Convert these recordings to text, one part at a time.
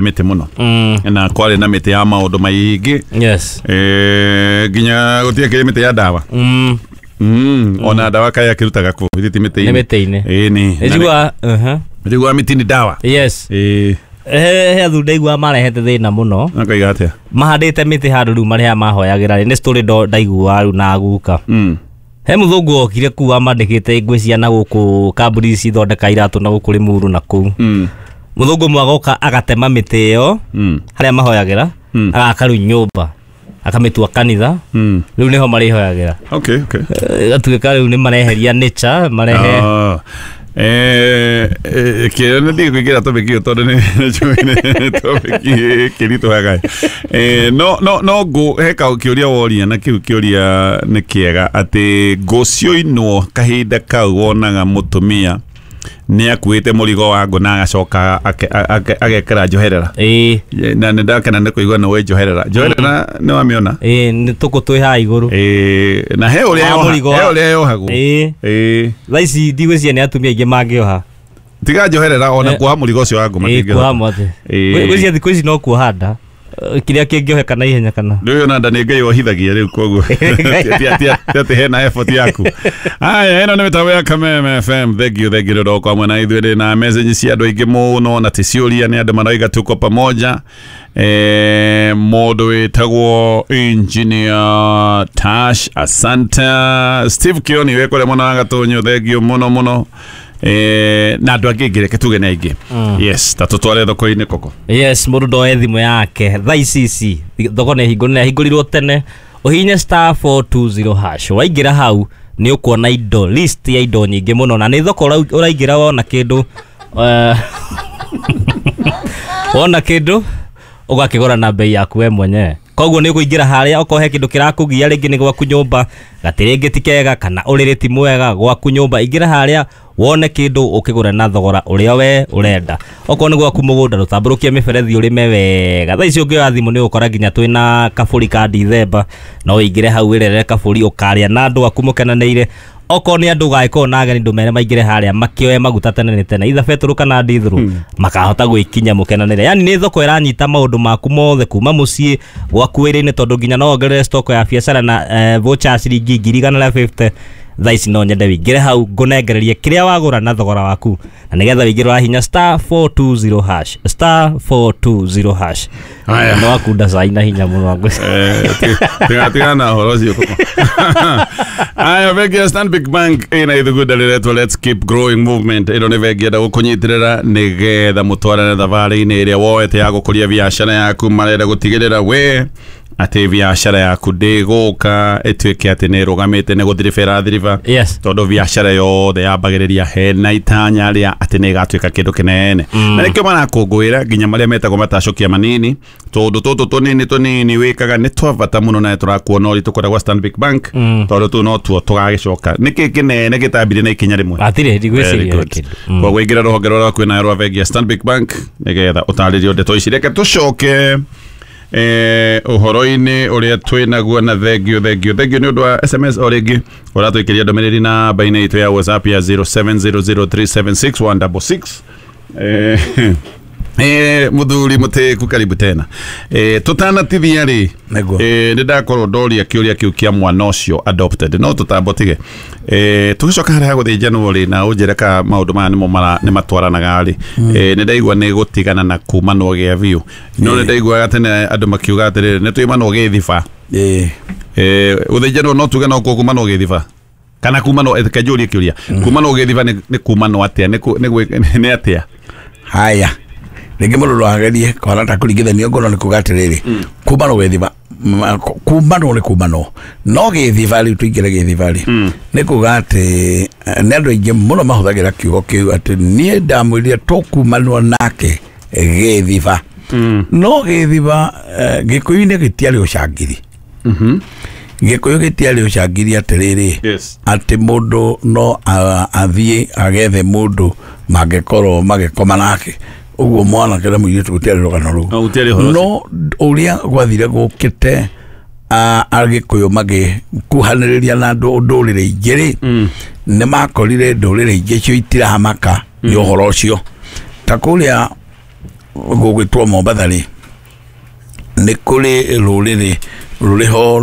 Mĩtĩ mũno na kwarĩ na mĩtĩ ya maũndũ maingĩ. Nginya gũtiakĩrĩ mĩtĩ ya ndawa. Ona ndawa kaĩ akĩrutaga kũ githĩ ti nĩ mĩtĩ-inĩ? Mĩtĩ-inĩ. Ĩni. Njigua Njiguaga mĩtĩ nĩ ndawa. He athuri ndaigua marehete thĩna mũno. Akaiga atĩa? Mahandĩte mĩtĩ handũ rĩu marĩa mahoyagĩra rĩ, nĩ story ndaigua rĩu na guka. He mũthũngũ okire kuu amandĩkĩte ngwĩcia na gũkũ kambuni ici ithondeka iratũ na gũkũ Limuru na kũu. Mũthũngũ ũmwe agoka agatema mĩtĩ ĩyo harĩa mahoyagĩra, agaka rĩu nyũmba akamĩtua kanitha. Rĩu nĩho marĩhoyagĩra. Gatuĩka rĩu nĩ mareheria nature marehe. Ah. Kĩrĩa nĩ ndige kũingĩra topic ĩyo tondũ nĩ njũĩ nĩ topic ĩkĩritũhaga. No ngũ he ka kĩũria woria na kĩu kĩũria nĩ kĩega atĩ ngũ cioinwo kahinda kau wonaga mũtumia nĩ akuĩte mũrigo wa ngũ na agacoka agekĩra njoherera. Na nĩ ndakena nĩ kũigua nĩ wĩ njoherera, njoherera nĩ wamĩona? Ĩĩ, nĩ tũkũ twĩ haha igũrũ. Na he ũrĩa Wa mũrigo he ũrĩa yohagwo. Thaa ici ndigwĩciria nĩ atumia aingĩ mangĩoha. Tiga njoherera ona kuoha mũrigo ũcio wa ngũ matingĩhota. Kuoha mwatĩ. Ngwĩciria thikũ ici no kuoha nda. Kĩrĩa kĩngĩoheka na ihenya kana Rĩu ona nda nĩ Ngai wohithagia rĩu, koguo ti atĩ hena effort yaku. Haya, ĩno nĩ mĩtambo ya Kameme FM. Thank you, thank you nĩ ũndũ hamwe na ithuĩ. Ndĩ na message cia andũ aingĩ mũno na ti ciũria, nĩ andũ marauga tuko pamoja. Mũndũ wĩtagwo Engineer Tash, asante. Steve Kioni wĩ kũrĩa mwena wa Gatũnyũ, thank you mũno mũno. Na andũ angĩ ingĩ reke tuge nĩ aingĩ. Yes, ta tũtware thoko-inĩ koko. Yes, mũndũ ndoe thimũ yake thaa ici ici thoko nĩ hingũre, nĩ yahingũrirwo tene. Ũhihinye *420# waingĩra hau nĩ ũkuona indo, list ya indo nyingĩ mũno, na nĩ thoko ũraingĩra wona kĩndũ, wona kĩndũ ũgakĩgũra na bei yaku we mwenyewe. Koguo nĩ ũkũingĩra harĩa okorwo he kĩndũ kĩrakũgia, rĩngĩ nĩ gwaku nyũmba gatĩ, rĩngĩ ti kega kana ũrĩrĩ ti mwega gwaku nyũmba, ingĩra harĩa wone kĩndũ ũkĩgũra na thogora ũrĩa we ũrenda. Okorwo nĩ gwaku mũgũnda, rũtambũrũkie mĩberethi ũrĩme wega. Thaa ici ũngĩoya thimũ nĩ ũgũkora nginya twĩna kabũri ka Dithemba, no ũingĩre hau wĩrerere kabũri ũkarĩa na andũ aku mũkenanĩire. Okorwo nĩ andũ ũgagĩkorwo na ageni, ndũmere maingĩre harĩa makĩoe maguta tene nĩ tene, either betũrũ kana ndithũrũ, makahota gwĩkinya mũkenanĩre. Yani nĩ thoko ĩranyita maũndũ maku mothe kuma mũciĩ gwaku wĩra-inĩ, tondũ nginya no wongerere stock ya biacara na voucher ya ciringi 150,000. Thaa ici no nyende wĩingĩre hau ngũnengererie kĩrĩa wagũra na thogora waku, na nĩgetha wĩingĩre ũrahinya *420#, *420#. Haya. No akunda cai na hinya mũno. Tiga na ũhoro ũcio koko. Aya, bengi ya Stanbic Bank ĩna ithugunda rĩretwo Let's Keep Growing Movement. Ĩno nĩ bengi enda gũkũnyitĩrĩra nĩgetha mũtwarane thabarĩ-inĩ ĩrĩa woete ya gũkũria biacara yaku. Marenda gũtigĩrĩra we atĩ biacara yaku ndĩgũka ĩtuĩke atĩ nĩ ĩrũgamĩte nĩ gũthiriba ĩrathiriba, tondũ biacara yothe yambagĩrĩria hena itanya rĩa atĩ nĩ ĩgatuĩka kĩndũ kĩnene. Na nĩkĩo marakũngũĩra nginya marĩa metagwo matacũkia manini, tondũ tũtũ tũnini tũnini wĩkaga nĩ twa bata mũno na nĩ tũrakuona ũritũ kũrĩa gwa Stanbic Bank, tondũ tũu no tuo tũgagĩcoka. Nĩkĩ kĩnene gĩtambire na ikinya rĩmwe? Hatirĩ. Very Ndigwĩciria good. kĩndũ. Koguo ingĩra rũhonge rũrĩa rwakuhĩ nayo rwa bengi ya Stanbic Bank nĩgetha ũtarĩrio ndeto ici. Reke tũcoke ũhoro-inĩ ũrĩa twĩ naguo, na thengio, thengio, thengio nĩ ũndũ wa SMS o rĩngĩ ũratũikĩria ndũmĩrĩri na namba-inĩ itũ ya WhatsApp ya 0700376166. Muthuri mutiku, karibu tena. Tutanatithia rĩ, Nĩguo. nĩ ndakorwo ndoria kĩũria kĩu kĩa mwana ũcio adopted, no tũtambo tige tũgĩcoka harĩa ha gũthĩnjanwo rĩ, na ũnjĩre ka maũndũ maya nĩmo nĩ matwaranaga rĩ. Nĩ ndaigua nĩ gũtigana na kumanwo gĩa biũ, no nĩ ndaiguaga tene andũ makiuga atĩrĩrĩ, nĩ twĩmanwo gĩthiba. Gũthĩnjanwo no tuge no kuo kumanwo gĩthiba kana kumanwo, reke njũrie kĩũria, kumanwo gĩthiba nĩ kumanwo atĩa? Nĩ atĩa? Haya, rĩngĩ mũndũ no agerie kwana ta kũringithania ngoro nĩ kuga atĩrĩrĩ, kumanwo gĩthiba, kumanwo nĩ kumanwo, no gĩthiba rĩu tũingĩre gĩthiba rĩ, nĩ kuga atĩ nĩ andũ aingĩ mũno mahũthagĩra kiugo kĩu atĩ niĩ ndamwĩrire tũkumanwo nake gĩthiba. No gĩthiba, gĩkũyũ-inĩ gĩtiarĩ ũcangiri. Gĩkũyũ gĩtiarĩ ũcangiri atĩrĩrĩ, atĩ mũndũ no athiĩ agethe mũndũ mangĩkorwo magĩkoma nake ũguo, mwanake na mũirĩtu, gũtiarĩ rũgano rũu. No, gũtiarĩ ũhoro. No ũrĩa gwathire gũkĩte agĩkũyũ magĩkuhanĩrĩria na ndũrĩrĩ ingĩ rĩ, nĩ makorire ndũrĩrĩ ingĩ cio itiramaka nĩ ũhoro ũcio ta kũrĩa. Gũgwĩtwo Mombatha rĩ, nĩ kũrĩ rũrĩrĩ rũrĩho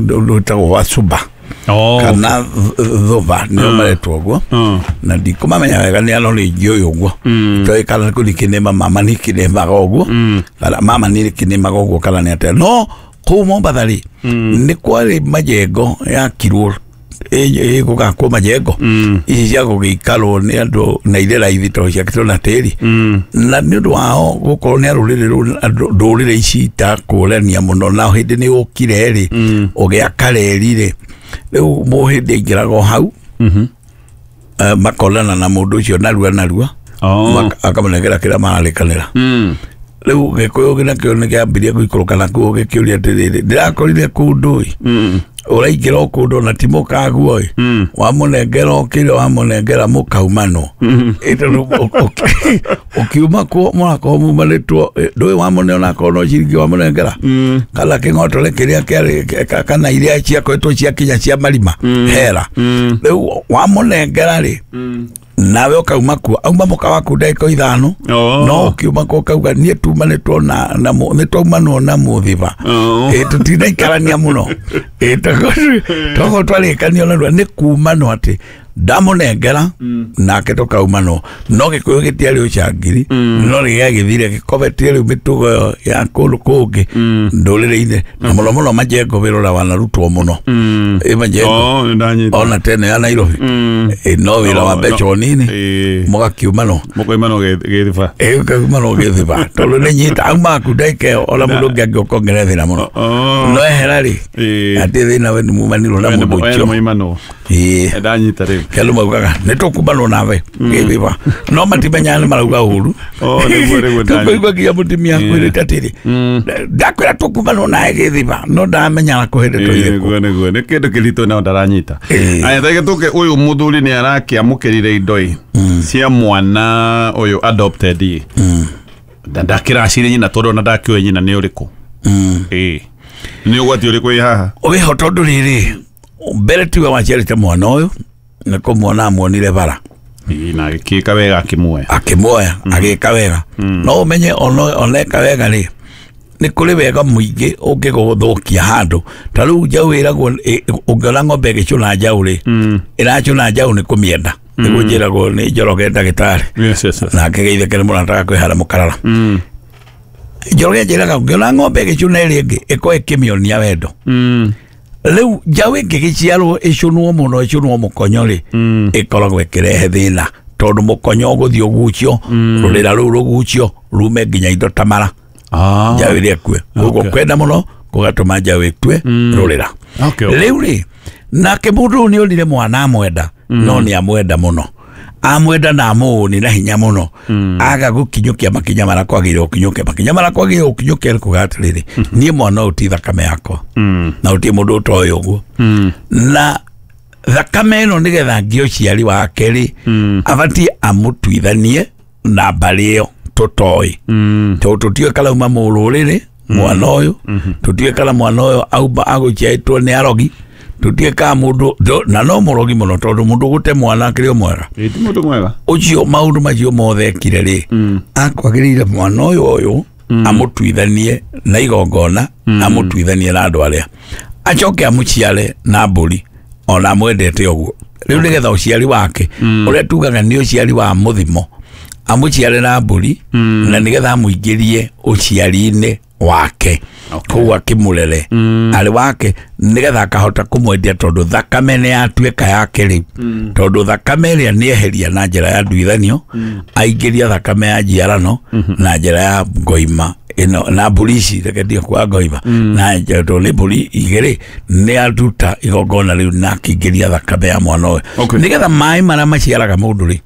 rwĩtagwo Wasuba kana Thuba nĩo maretwo ũguo, na ndikũmamenya wega nĩ ano rĩngĩ ũyũ ũguo toĩ kana kũrikĩnĩma mama nĩkĩnĩmaga ũguo kana mama nĩkĩnĩmaga ũguo kana nĩ atĩa. No kũu Mombatha rĩ, nĩ kwarĩ majengo yakirwo ĩgũgakwo majengo ici cia gũgĩikarwo nĩ andũ na irĩ raithi tondũ ciakĩtwo na tĩri, na nĩ ũndũ wao gũkorwo nĩ arũrĩrĩ ndũrĩrĩ ici itakũrania mũno, na hĩndĩ nĩ ũkire rĩ ũgĩaka reri rĩ, rĩu mũhĩndĩ aingĩraga o hau, makonana na mũndũ ũcio narua narua, akamũnengera kĩrĩa mararĩkanĩra. Rĩu Gĩkũyũ nakĩo nĩ kĩambirie gũikũrũka nakuo gĩkĩũria atĩrĩrĩ, ndĩrakorire kũndũ ĩ ũraingĩra o kũndũ na ti mũkaguo ĩ, wamũnengera o kĩrĩa wamũnengera mũkaumanwo. Tondũ ũkiuma kuo mũrakorwo mumanĩtwo, ndũĩ wamũne onakorwo no ciringi wamũnengera kana kĩng'otore kĩrĩa kĩarĩ kana iria ciakoretwo ciakinya cia marima hera. Rĩu wamũnengera rĩ, nawe ũkauma kuo, auma mũka waku ndagĩka 5, no ũkiuma kuo ũkauga niĩ tumanĩtwo na nĩ twaumanwo na mũthiba, tũtinaikarania mũno, tokorwo twarĩkanio narua nĩ kumanwo atĩ ndamũnengera nake tũkaumanwo. No Gĩkũyũ gĩtiarĩ ũcangiri, no rĩgĩagĩthire gĩkobetie rĩu mĩtugo ĩyo ya kũndũ kũngĩ ndũrĩrĩ-inĩ, na mũno mũno majengo wĩra ũrĩa wanarutwo mũno majengo ona tene ya Nairobi, no wĩra wa mbeca nini mũgakiumanwo mũkoimanwo gĩthiba, ũkaumanwo gĩthiba tondũ nĩ nyita auma aku ndagĩka ĩyo ona mũndũ ũngĩ angĩũka ongerere thĩna mũno, no ehera rĩ atĩ thĩna we nĩ mumanirwo na mũndũ ũcio. Ndanyita rĩu kĩandũ maugaga nĩ tũkumanwo nawe gĩthiba, no matimenyaga nĩ marauga ũru. Tũkũigua nginya mũtumia akwĩrĩte atĩrĩ, ndakwĩra tũkumanwo nawe gĩthiba, no ndamenyaga kũhĩndĩ tũirĩkũ. Nĩguo nĩ kĩndũ kĩritũ nao ndaranyita. Aya tege tũke, ũyũ mũthuri nĩ arakĩamũkĩrire indo ĩ cia mwana ũyũ adopted ĩ, ndakĩracire nyina tondũ ona ndakĩũĩ nyina nĩ ũrĩkũ. Nĩ ũgwati ũrĩkũ wĩ haha? Wĩho tondũ rĩrĩ, mbere tiwe waciarĩte mwana ũyũ, nĩ kũmuona amuonire bara na agĩkĩka wega akĩmuoya, akĩmuoya agĩka wega. No ũmenye oneka wega rĩ, nĩ kũrĩ wega mũingĩ ũngĩgũthũkia handũ. Ta rĩu njaũ ĩragwo, ũngĩona ng'ombe ĩgĩcũna njaũ rĩ, ĩracũna njaũ nĩ kũmĩenda, nĩguo njĩragwo nĩ Njoroge ndagĩtarĩ, nake Geitheke nĩ mũrataga kwĩhara mũkarara. Njoroge njĩraga ũngĩona ng'ombe ĩgĩcũna ĩrĩa ĩngĩ ĩkorwo ĩkĩmĩonia wendo. Rĩu njaũ ĩngĩgĩciarwo ĩcũnwo mũno ĩcũnwo mũkonyo rĩ, ĩkoragwo ĩkĩrehe thĩna tondũ mũkonyo ũgũthiĩ ũgucio, rũrĩra rũu rũgucio rume nginya indo ta mara, njaũ ĩrĩa ĩkue. Koguo kwenda mũno gũgatũma njaũ ĩkue rũrĩra. Rĩu rĩ, nake mũndũ ũyũ nĩ onire mwana amwenda, no nĩ amwenda mũno, amwenda na amũũni na hinya mũno, aga gũkinyũkia makinya marĩa kwagĩrĩire gũkinyũkia, makinya marĩa kwagĩrĩire gũkinyũkia nĩ kuga atĩrĩrĩ, niĩ mwana ũyũ ti thakame yakwa, na gũtirĩ mũndũ ũtoĩ ũguo, na thakame ĩno nĩgetha ngĩe ũciari wake rĩ, abatiĩ amũtuithanie na mbarĩ ĩyo tũtoĩ, tondũ tũtiũĩ kana auma mũrũrĩrĩ mwana ũyũ, tũtiũĩ kana mwana ũyũ auma agũciarĩtwo nĩ arogi, tũtiũĩ kana mũndũ na no mũrogi mũno tondũ mũndũ gũte mwana akĩrĩ o mwega, ti mũndũ mwega ũcio maũndũ macio mothe ekire rĩ, akwagĩrĩire mwana ũyũ amũtuithanie na igongona, amũtuithanie na andũ arĩa, acoke amũciare na mbũri ona amwendete ũguo. Rĩu nĩgetha ũciari wake ũrĩa tugaga nĩ ũciari wa mũthimo, amũciare na mbũri na nĩgetha amũingĩrie ũciari-inĩ wake, koguo akĩmũrere arĩ wake nĩgetha akahota kũmwendia tondũ thakame nĩ yatuĩka yake rĩu, tondũ thakame ĩrĩa nĩ eheria na njĩra ya nduithanio, aingĩria thakame ya njiarano na njĩra ya ngoima ĩno na mbũri ici, reke ndige kuga ngoima, na tondũ nĩ mbũri igĩrĩ nĩ aruta igongona rĩu na akĩingĩria thakame ya mwana ũyũ, nĩgetha maĩ marĩa maciaraga mũndũ rĩ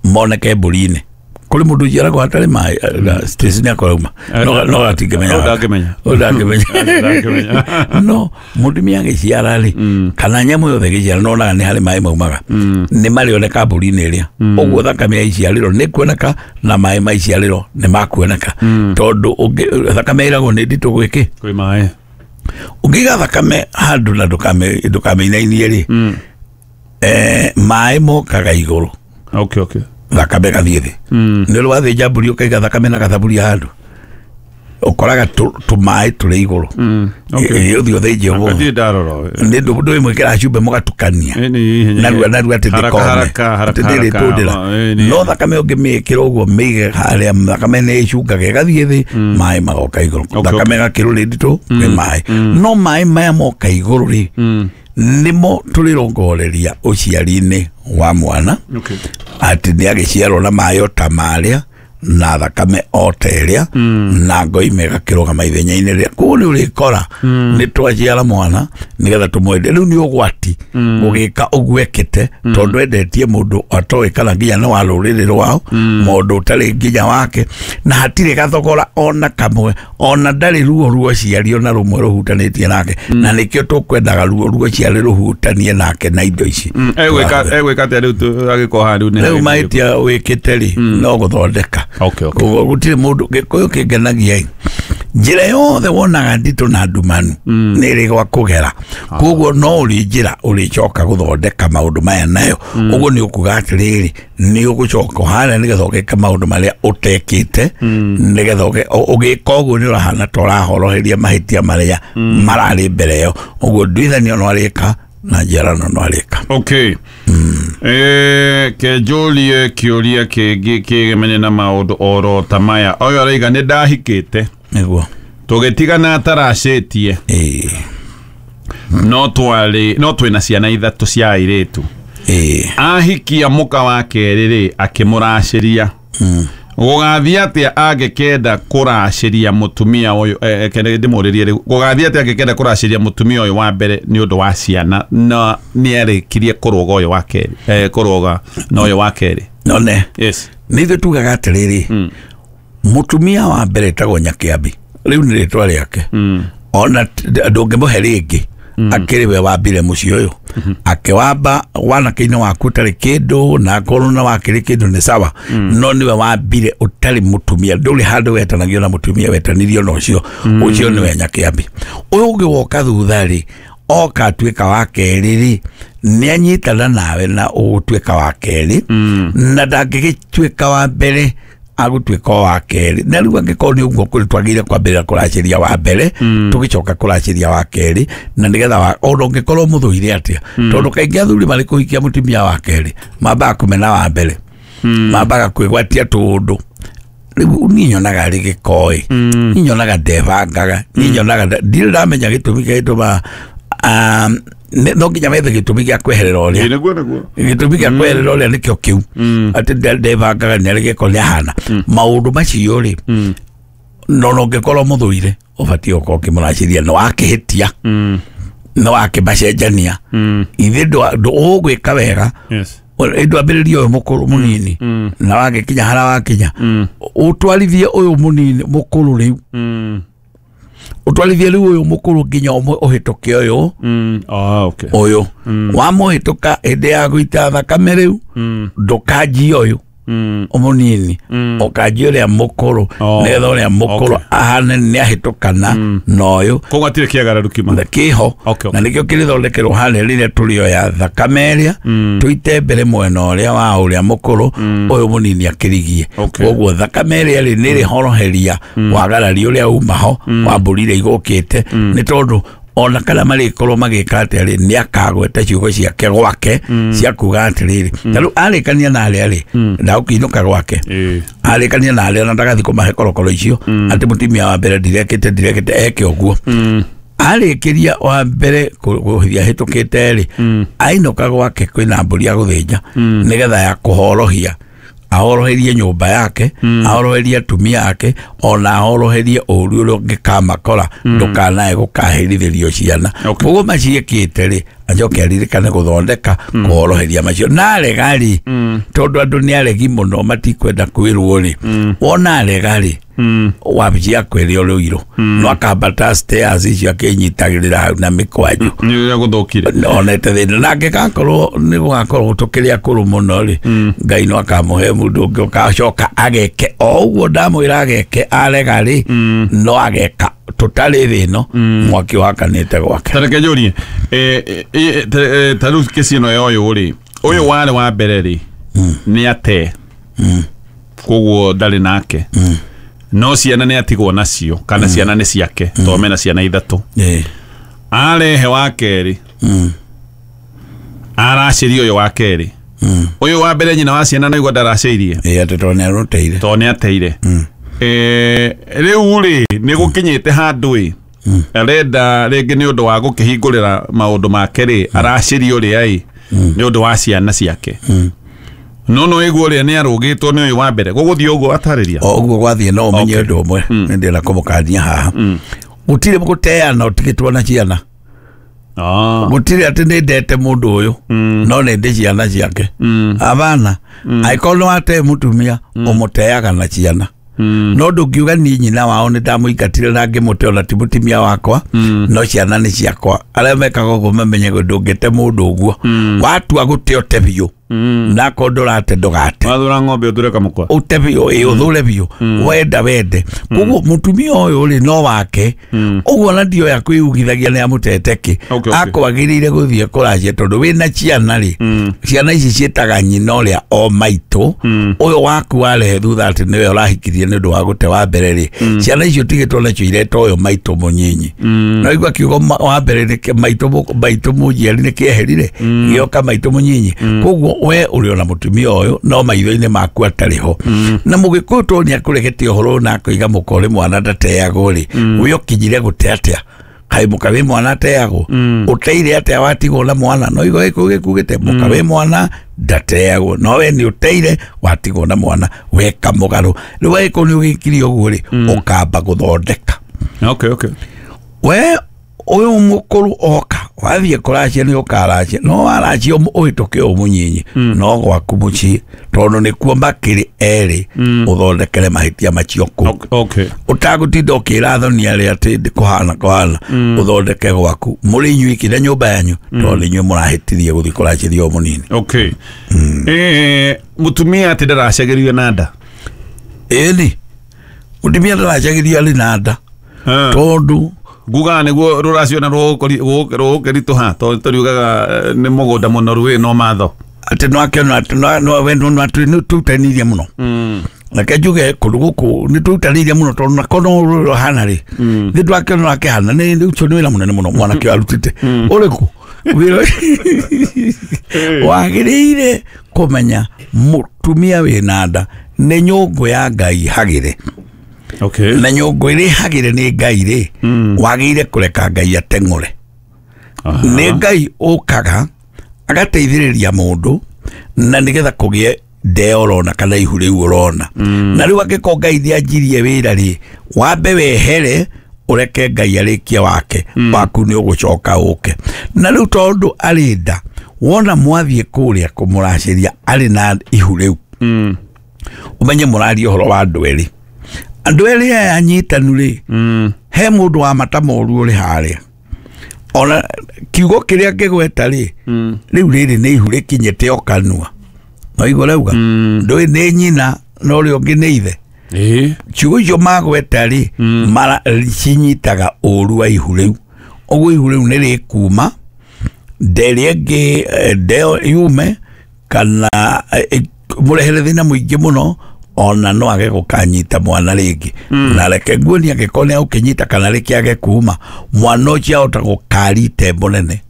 moneke mbũri-inĩ. Kũrĩ mũndũ ũciaragwo hatarĩ maĩ, Stacy nĩ akorauma no gatingĩmenya, ndangĩmenya. No mũtumia agĩciara rĩ, kana nyamũ yothe ĩgĩciara, nonaga nĩ harĩ maĩ maumaga, nĩ marĩoneka mbũri-inĩ ĩrĩa. Ũguo thakame ya iciarĩro nĩ kuoneka na maĩ ma iciarĩro nĩ makuoneka, tondũ thakame ĩragwo nĩ nditũ gwĩkĩ, kwĩ maĩ. Ũngĩiga thakame handũ na ndũkamĩinainie rĩ, maĩ mokaga igũrũ. Okay. Thakame gathiĩ thĩ. Nĩ ũrĩ wathĩnja mbũri ũkaiga thakame na gathaburia handũ, ũkoraga tũmaĩ tũrĩ igũrũ. Ũthiĩ ũthĩnje ũguo. Ndirĩ ndarora. Nĩ ndũ ĩmwe ĩkĩra cumbĩ mũgatukania narua narua atĩ Haraka, ndĩkome haraka, haraka, atĩ ndĩrĩ haraka. tũndĩra. Ĩĩ, No thakame ũngĩmĩĩkĩra ũguo mĩige harĩa, thakame nĩ ĩcungaga ĩgathiĩ thĩ, maĩ magoka igũrũ. Thakame ĩgakĩrũrĩ nditũ kwĩ maĩ, no maĩ maya moka igũrũ rĩ, nĩmo tũrĩrongoreria ũciari-inĩ wa mwana, atĩ nĩ agĩciarwo na maĩ o ta marĩa na thakame o ta ĩrĩa, na ngoime ĩgakĩrũgama ithenya-inĩ rĩa. Koguo nĩ ũrĩkora nĩ twaciara mwana nĩgetha tũmwende. Rĩu nĩ ũgwati gũgĩka ũguo ekĩte, tondũ endetie mũndũ atoĩ kana nginya nĩ wa rũrĩrĩ rwao, mũndũ ũtarĩ nginya wake, na hatirĩ gathogora ona kamwe, ona ndarĩ ruo ruo ciari ona rũmwe rũhutanĩtie nake, na nĩkĩo tũkwendaga ruo ruo ciari rũhutanie nake na indo ici. Egwĩka atĩa rĩu agĩkorwo haha rĩu nĩ Rĩu mahĩtia wĩkĩte rĩ, no gũthondeka. Koguo gũtirĩ mũndũ gĩkũyũ kĩngenagia ĩ, njĩra yothe wonaga nditũ na ndumanu nĩ ĩrĩ gwa kũgera. Koguo no ũrĩ njĩra ũrĩcoka gũthondeka maũndũ maya nayo. Ũguo nĩ ũkuga atĩrĩrĩ, nĩ ũgũcoka harĩa nĩgetha ũgĩke maũndũ marĩa ũtekĩte, nĩgetha ũgĩka ũguo nĩ ũrahana ta ũrahoroheria mahĩtia marĩa mararĩ mbere ĩyo. Ũguo nduithanio no arĩka na njiarano no arĩka. Okay. Kenjũrie kĩũria kĩngĩ kĩgemene na maũndũ oro ta maya. Ũyũ araiga nĩ ndahikĩte, Nĩguo. tũgĩtigana ataracĩtie, no twarĩ no twĩna ciana ithatũ cia airĩtu. Ahikia mũka wa kerĩ rĩ, akĩmũracĩria. Gũgathiĩ atĩa angĩkenda kũracĩria mũtumia ũyũ? Kende ndĩmũrĩrie rĩu, gũgathiĩ atĩa angĩkenda kũracĩria mũtumia ũyũ wa mbere nĩ ũndũ wa ciana, na nĩ arĩkirie kũrũga ũyũ wa kerĩ, kũrũga na ũyũ wa kerĩ? None. Yes. Nĩ ithuĩ tugaga atĩrĩrĩ, mũtumia wa mbere etagwo Nyakĩambi, rĩu nĩ rĩtwa rĩake, ona ndũngĩmũhe rĩngĩ, akĩrĩ we wambire mũciĩ ũyũ, akĩwamba wanake-inĩ waku ũtarĩ kĩndũ, na akorwo na wakĩrĩ kĩndũ nĩ sawa, no nĩwe wambire ũtarĩ mũtumia, ndũrĩ handũ wetanagio na mũtumia, wetanirio na ũcio. Ũcio nĩwe Nyakĩambi. Ũyũ ũngĩ woka thutha rĩ, oka atuĩka wa kerĩ rĩ, nĩ anyitana nawe na ũgũtuĩka wa kerĩ, na ndangĩgĩtuĩka wa mbere, agũtuĩka o wa kerĩ. Na rĩu angĩkorwo nĩ ũguo kũrĩ, twagĩrĩire kwambĩrĩra kũracĩria wa mbere, tũgĩcoka kũracĩria wa kerĩ, na nĩgetha ona ũngĩkorwo mũthũire atĩa, tondũ kaingĩ athuri marĩ kũhikia mũtumia wa kerĩ mambaga kũmena wa mbere, mambaga kwĩgwatia tũũndũ. Rĩu niĩ nyonaga arĩ gĩkoĩ, niĩ nyonaga ndebangaga, niĩ nyonaga ndirĩ ndamenya gĩtũmi kĩrĩa gĩtũmaga, no nginya methe gĩtũmi gĩa kweherera ũrĩa. Nĩguo, nĩguo. Gĩtũmi gĩa kweherera ũrĩa nĩkĩo kĩu, atĩ ndebangaga, nĩ arĩ gĩko, nĩ ahana maũndũ macio rĩ. No ũngĩkorwo mũthũire, ũbatiĩ gũkorwo ũkĩmũracĩria, nĩ wakĩhĩtia, nĩ wakĩmacenjania ithe ũgwĩka wega. Ndwambĩrĩria ũyũ mũkũrũ mũnini, na wagĩkinya harĩa wakinya, ũtwarithie ũyũ mũnini mũkũrũ rĩu, ũtwarithie rĩu ũyũ mũkũrũ nginya ũhĩtũke ũyũ. Ah, okay. Ũyũ wamũhĩtũka hĩndĩ ya gũita thakame rĩu, ndũkanjie ũyũ mũnini, ũkanjie ũrĩa mũkũrũ, nĩgetha ũrĩa mũkũrũ ahane nĩ ahĩtũkana na ũyũ. Koguo hatirĩ kĩagararo kima. Na kĩho. Na nĩkĩo kĩrĩthondekerwo harĩa rĩrĩa tũrĩoya thakame ĩrĩa tũite mbere mwena ũrĩa wa ũrĩa mũkũrũ, ũyũ mũnini akĩrigie. Koguo thakame ĩrĩa rĩ nĩ ĩrĩhoroheria wagarari ũrĩa uma ho wa mbũri iria igũkĩte, nĩ tondũ ona kana marĩkorwo magĩka atĩa rĩ, nĩ akagweta ciugo ciake gwake cia kuga atĩrĩrĩ, ta rĩu arĩkania na arĩa rĩ, ndagũkĩinũka gwake, arĩkania na arĩa na ndagathi kũmahe korokoro icio atĩ mũtumia wa mbere ndirekĩte ndirekĩte eke ũguo. Arĩkĩria wa mbere kũhithia hĩtũkĩte rĩ, ainũka gwake kwĩna mbũri ya gũthĩnja, nĩgetha ya kũhorohia, ahoroherie nyũmba yake, ahoroherie atumia ake, ona ahoroherie ũru ũrĩa ũngĩkamakora, ndũkanae gũkaherithĩrio ciana. Koguo maciĩkĩte rĩ, acoke aririkane gũthondeka kũhoroheria macio. Na arega rĩ, tondũ andũ nĩ aregi mũno, matikwenda kwĩrwo rĩ, wona arega rĩ, wabici yakwa ĩrĩ o rũirũ, no akambata stairs icio akĩnyitagĩrĩra hau na mĩkwanjũ. Nĩ ũrĩa gũthũkire. Onete thĩna nake gakorwo nĩ gũgakorwo tũkĩrĩ akũrũ mũno rĩ, Ngai no akamũhe mũndũ ũngĩ ũgacoka ageke o ũguo ndamwĩra ageke. Arega rĩ, no ageka tũtarĩ thĩ ĩno mwaki wakanĩte gwake. Tareke njũrie, ta rĩu kĩci ĩno ya ũyũ rĩ, ũyũ warĩ wa mbere rĩ, nĩ ate Koguo ndarĩ nake. No ciana nĩ atigwo nacio kana ciana nĩ ciake to mena ciana ithatũ. Arehe wa kerĩ. Aracĩria ũyũ wa kerĩ. Ũyũ wa mbere nyina wa ciana no igua ndaracĩirie. Atĩ tondũ nĩ arũteire. Tondũ nĩ ateire. Rĩu rĩ nĩ gũkinyĩte handũ ĩ arenda rĩngĩ nĩ ũndũ wa gũkĩhingũrĩra maũndũ make rĩ aracĩria ũrĩa ĩ nĩ ũndũ wa ciana ciake. No no ĩguo ũrĩa nĩ arũgĩtwo nĩ ũyũ wa mbere gũgũthiĩ ũguo atarĩria. O ũguo gwathiĩ no ũmenye ũndũ ũmwe nĩ ndĩrenda kũmũkania haha. Gũtirĩ gũteana ũtigĩtwo na ciana. Gũtirĩ atĩ nĩ ndete mũndũ ũyũ no nĩ ndĩ ciana ciake. Abana angĩkorwo nĩ watee mũtumia ũmũteaga na ciana. No ndũngiuga niĩ nyina wao nĩ ndamũingatire na ngĩmũte ona ti mũtumia wakwa no ciana nĩ ciakwa. Arĩa mekaga ũguo mamenye ndũngĩte mũndũ ũguo. Watua gũte ũte biũ. Na akorwo ndũrate ndũgate. Wathura ng'ombe ũthure kamũkwa. Ũte biũ, ĩ ũthure biũ. Wenda wende. Koguo mũtumia ũyũ rĩ no wake. Ũguo na ndioya kwĩugithagia nĩ amũtete kĩ. Akwagĩrĩire gũthiĩ kũracia tondũ wĩna ciana rĩ. Ciana ici ciĩtaga nyina ũrĩa o maitũ. Ũyũ waku warehe thutha atĩ nĩwe ũrahikirie nĩ ũndũ wa gũte wa mbere rĩ. Ciana icio ũtigĩtwo nacio ireta ũyũ maitũ mũnyinyi. No igua kiugo wa mbere nĩ maitũ mũnjiari nĩ kĩeherire. Gĩoka maitũ mũnyinyi. Koguo we ũrĩ ona mũtumia ũyũ no maitho-inĩ maku atarĩ ho. Na mũgĩkũyũ tondũ nĩ akũregete ũhoro na akoiga mũka ũrĩ mwana ndateagwo rĩ, we ũkinyire gũte atĩa? Kaĩ mũka wĩ mwana ateagwo? Ũteire atĩa watigwo na mwana? No igua gĩkũyũ gĩkugĩte mũka wĩ mwana ndateagwo, no we nĩ ũteire watigwo na mwana weka mũgarũ. Rĩu agĩkorwo nĩ ũgĩkire ũguo rĩ, ũkamba gũthondeka. Okay. We ũyũ mũkũrũ oka wathiĩ kũracia nĩ ũkaracia no waracia ũhĩtũke ũyũ mũnyinyi no gwaku mũciĩ tondũ nĩkuo makĩrĩ erĩ ũthondekere mahĩtia macio kũu. Ũtagũtinda ũkĩra thoni arĩa atĩ kũhana kũhana ũthondeke gwaku mũrĩ inyuiki na nyũmba yanyu tondũ nĩ inyuĩ mũrahĩtirie gũthiĩ kũracĩria ũyũ mũnini. Mũtumia atĩ ndaracagĩrio na nda. Ĩni mũtumia ndaracagĩrio arĩ na nda tondũ ngugaga nĩguo rũracio na rũgũkĩritũha tondũ tũriugaga nĩ mũgũnda mũnoru wĩ no matho. Atĩ no akĩona atĩ no we no nĩ tũrutanĩirie mũno. Reke njuge kũndũ gũkũ nĩ tũrutanĩirie mũno tondũ nako no rũhana rĩ thĩ ndwakĩona akĩhana nĩ ũcio nĩ wĩra mũnene mũno mwanake arutĩte ũrĩkũ wĩra wagĩrĩire kũmenya mũtumia wĩna nda nĩ nyũngũ ya Ngai hagĩre. Na nyũngũ ĩrĩ hagĩre nĩ Ngai rĩ wagĩrĩire kũreka Ngai ateng'ũre. Nĩ Ngai ũkaga agateithĩrĩria mũndũ na nĩgetha kũgĩe ndeo ũrona kana ihu rĩu ũrona. Na rĩu angĩkorwo Ngai nĩ anjirie wĩra rĩ wambe wehere ũreke Ngai arĩkie wake waku nĩ ũgũcoka ũke. Na rĩu tondũ arĩ nda wona mwathiĩ kũrĩa kũmũracĩria arĩ na ihu rĩu ũmenye mũraria ũhoro wa andũ erĩ. Andũ erĩ aya anyitanu rĩ he mũndũ wa mata moru ũrĩ harĩa ona kiugo kĩrĩa ngĩgweta rĩ rĩu rĩrĩ nĩ ihu rĩkinyĩte o kanua no igua rauga ndũĩ nĩ nyina na ũrĩa ũngĩ nĩ ithe. Ciugo icio magweta rĩ cinyitaga ũru wa ihu rĩu ũguo ihu rĩu nĩ rĩkuma nda ĩrĩa ĩngĩ ndeo yume kana mũrehere thĩna mũingĩ mũno ona no age gũkanyita mwana rĩngĩ. Na reke nguonie angĩkorwo nĩ agũkĩnyita kana rĩkĩage kuma mwana ũcio ahota gũkari itembo nene.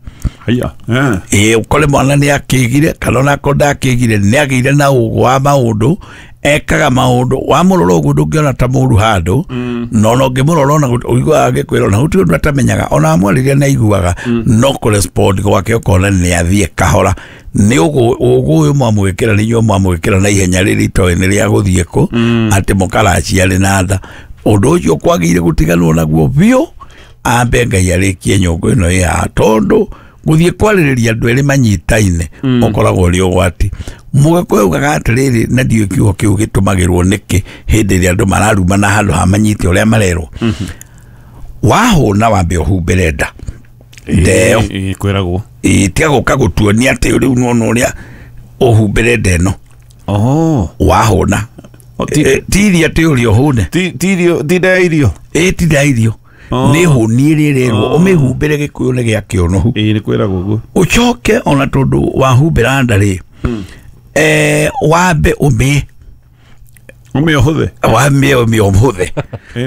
Ĩĩ ũkore mwana nĩ akĩgire kana onakorwo ndakĩgire nĩ agĩire na ũgũ wa maũndũ ekaga maũndũ wamũrora ũguo ndũngĩona ta mũru handũ no ona ũngĩmũrora ona ũiguaga agĩkwĩra ona gũtirĩ ũndũ atamenyaga ona amwarĩria nĩ aiguaga no kũrespond gwake ũkona nĩ athiĩ kahora nĩ ũgũ ũyũ mwamwĩkĩra nĩ inyuĩ mwamwĩkĩra na ihenya rĩrĩ itoĩ nĩ rĩa gũthiĩ kũ atĩ mũkaracia arĩ na nda. Ũndũ ũcio kwagĩrĩire gũtiganwo naguo biũ ambe Ngai arĩkie nyũngũ ĩno ĩ haha tondũ gũthiĩ kwarĩrĩria andũ erĩ manyitaine ũkoragwo ũrĩ ũgwati. Mũgĩkũyũ augaga atĩrĩrĩ na ndiũĩ kiugo kĩu gĩtũmagĩrwo nĩkĩ hĩndĩ ĩrĩa andũ mararumana handũ ha manyite ũrĩa marerwo. Wahũna wambe ũhumbĩre nda ndeo kwĩragwo tiga gũka gũtuonia atĩ rĩu nĩwona ũrĩa ũhumbĩre nda ĩno wahũna ti irio atĩ ũrĩa ũhũne ti nda ya irio ĩ ti nda ya irio nĩ hũni ĩrĩa ĩrerwo ũmĩhumbĩre gĩkũyũ nĩ gĩa kĩũnũhu. Ĩ nĩ kwĩragwo ũguo ũcoke ona tondũ wahumbĩra nda rĩ wambe ũmĩe Ũmĩũhũthe. Wamĩo mĩũhũthe. Ĩ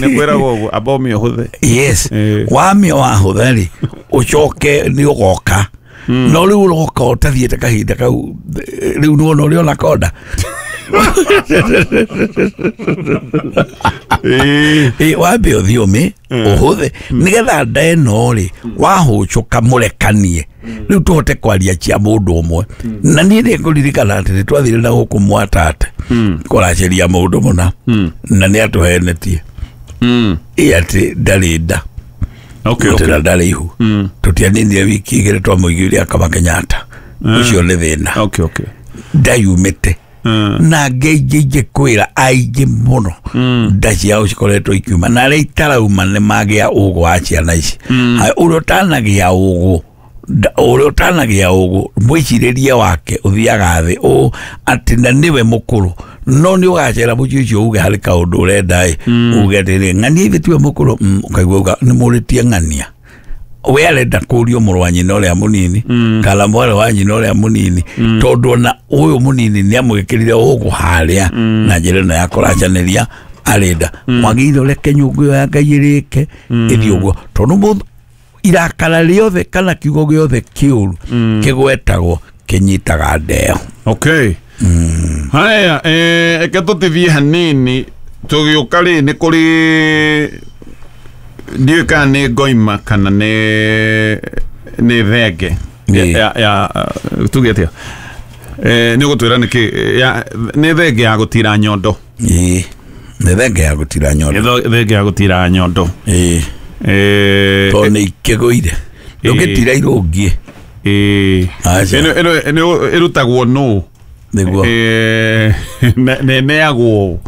nĩ kwĩragwo ũguo amba ũmĩũhũthe. Yes. Eh. Wamĩo wahũtha rĩ, ũcoke nĩ ũgoka, no rĩu ũroka ũtathiĩte kahinda kau, rĩu nĩwona ũrĩa ona konda. Ĩ. Wambe ũthiĩ ũmĩ ũhũthe nĩgetha nda ĩno rĩ wahũcũka mũrekanie, rĩu tũhote kwaria cia mũndũ ũmwe. Na niĩ nĩ ngũririkana atĩ nĩ twathire na gũkũ Mwatate kũracĩria mũndũ mũna, na nĩ atũhenetie ĩ atĩ ndarĩ nda. Okay, atĩ okay. na ndarĩ ihu. Tũtianinire wiki 2 twamũiguire akama Kenyatta. Ũcio nĩ thĩna. Okay, okay. Ndayumĩte na ngĩ ingĩ kwĩra aingĩ mũno nda ciao cikoretwo ikiuma, na arĩa itarauma nĩ magĩa ũgũ wa ciana ici. Haya, ũrĩa ũtanagĩa ũgũ ũrĩa ũtanagĩa ũgũ mwĩcirĩrie wake ũthiaga thĩ ũ atĩ na nĩwe mũkũrũ, no nĩ ũgacera mũciĩ ũcio uge harĩ kaũndũ ũrenda ĩ uge atĩrĩ, ng'ania ithe tiwe mũkũrũ. Ũkaigua uga nĩ mũrĩtie ng'ania we arenda kũrio mũrũ wa nyina ũrĩa mũnini kana mwarĩ wa nyina ũrĩa mũnini, tondũ ona ũyũ mũnini nĩ amwĩkĩrire ũgũ harĩa na njĩra ĩno ya kũracanĩria arenda. Mwagĩrĩire ũreke nyũngũ ĩyo ya Ngai ĩrĩke ĩthiĩ ũguo, tondũ irakara rĩothe kana kiugo gĩothe kĩũru kĩgwetagwo kĩnyitaga ndeo. Okay. Haya, eke tũtithie hanini tũgĩũka rĩ nĩ kũrĩ ndiũĩ kana nĩ ngoima kana nĩ thenge. Ya tuge atĩa, nĩ ũgũtwĩra nĩkĩ nĩ thenge ya gũtira nyondo. Ĩĩ, nĩ thenge ya gũtira Nĩ nyondo. Thenge ya gũtira nyondo. Ĩĩ. Tondũ nĩ ikĩgũire ndũngĩtira irũngiĩ. Aca. Ĩno ĩrutagwo nũ? Nĩguo. Neagwo,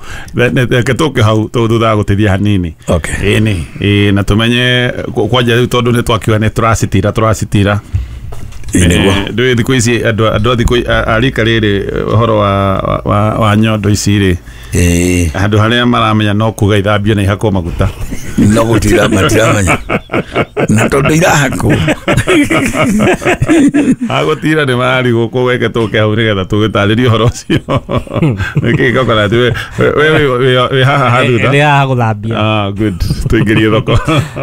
reke tũke hau thutha wa gũteithia hanini. Okay. Ĩni ĩ na tũmenye kwanja rĩu tondũ nĩ twakiuga nĩ tũracitira tũracitira. Ĩĩ, nĩguo. Ndũĩ thikũ ici andũ a thikũ a rika rĩrĩ ũhoro wa nyondo ici rĩ, handũ harĩa maramenya no kuga ithambio na ihakwo maguta. No gũtira matiramenya na tondũ irahakwo. Agũtira nĩ mararigwo kũgweke tũke hau nĩgetha tũgĩtarĩrie ũhoro ũcio nĩkĩ coconut we haha hathutha. Nĩ haha gũthambia. Ah, good, tũingĩrie thoko.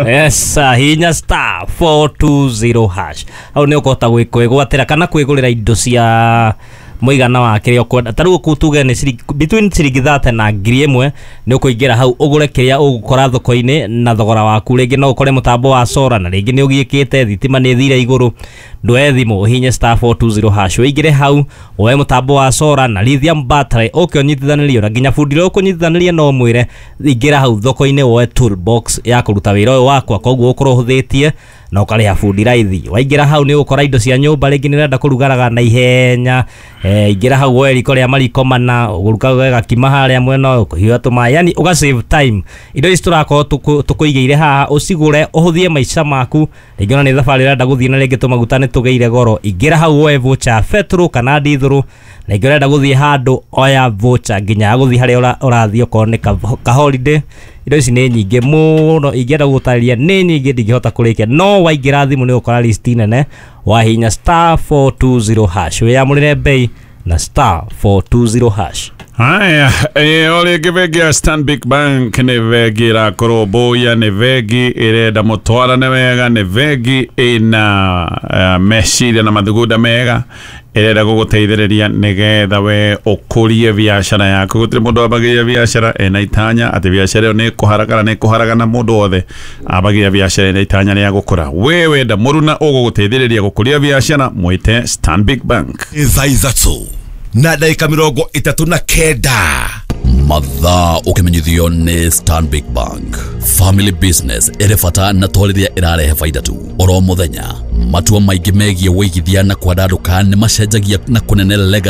Yes, hinya *420# hau nĩ ũkũhota kwĩgwatĩra kana kwĩgũrĩra indo cia mũigana wa kĩrĩa ũkwenda. Ta rĩu ũkũ tuge nĩ between ciringi 30 na 1,000, nĩ ũkũingĩra hau ũgũre kĩrĩa ũgũkora thoko-inĩ na thogora waku. Rĩngĩ no ũkore mũtambo wa solar, na rĩngĩ nĩ ũgiĩkĩte thitima nĩ ĩthire igũrũ, ndwoe thimũ ũhinye *420# ũingĩre hau woe mũtambo wa solar na lithium battery ũke ũnyitithanĩrio na nginya bundi ũrĩa ũkũnyitithanĩria no mwĩre ingĩra hau thoko-inĩ woe toolbox ya kũruta wĩra ũyũ wakwa, koguo ũkorwo ũhũthĩtie na ũkarĩha bundi raithi. Waingĩra hau nĩ ũgũkora indo cia nyũmba, rĩngĩ nĩ ũrenda kũrugaraga na ihenya, ingĩra hau woe riko rĩa mariko mana ũrugaga gakima harĩa mwena ũyũ ũkũhiũha tũmaĩ, yani ũga save time. Indo ici tũrakorwo tũkũigĩire haha ũcigũre ũhũthie maica maku. Rĩngĩ ona nĩ thabarĩ ũrenda gũthiĩ na rĩngĩ tũmaguta nĩ tũgĩire goro, ingĩra hau woe voucher ya betũrũ kana ndithũrũ. Na ingĩ ũrenda gũthiĩ handũ, oya voucher nginya ya gũthiĩ harĩa ũrathiĩ okorwo nĩ ka holiday. Indo ici nĩ nyingĩ mũno, ingĩenda gũgũtarĩria nĩ nyingĩ ndingĩhota kũrĩkia, no waingĩra thimũ nĩ ũgũkora list nene. Wahinya *420# wĩyamũrĩre bei na *420#. Haya, o rĩngĩ bengi ya Stanbic Bank nĩ bengi ĩrakorwo mbũya, nĩ bengi ĩrenda mũtwarane wega, nĩ bengi ĩna meciria na mathugunda mega, ĩrenda gũgũteithĩrĩria nĩgetha we ũkũrie biacara yaku. Gũtirĩ mũndũ wambagĩrĩria biacara ena itanya atĩ biacara ĩyo nĩ ĩkũhara kana nĩ ĩkũharagana. Mũndũ wothe ambagĩrĩria biacara ena itanya rĩa gũkũra. We wenda mũruna ũgũgũteithĩrĩria gũkũria biacara, mwĩte Stanbic Bank. Thaa 3:39. Mathaa ũkĩmenyithio nĩ Stanbic Bank. Family business ĩrĩ bata na to rĩrĩa ĩrarehe baida tu. Oro mũthenya matua maingĩ megiĩ wĩigithia na kwandandũka nĩ macenjagia na kũnene legacy.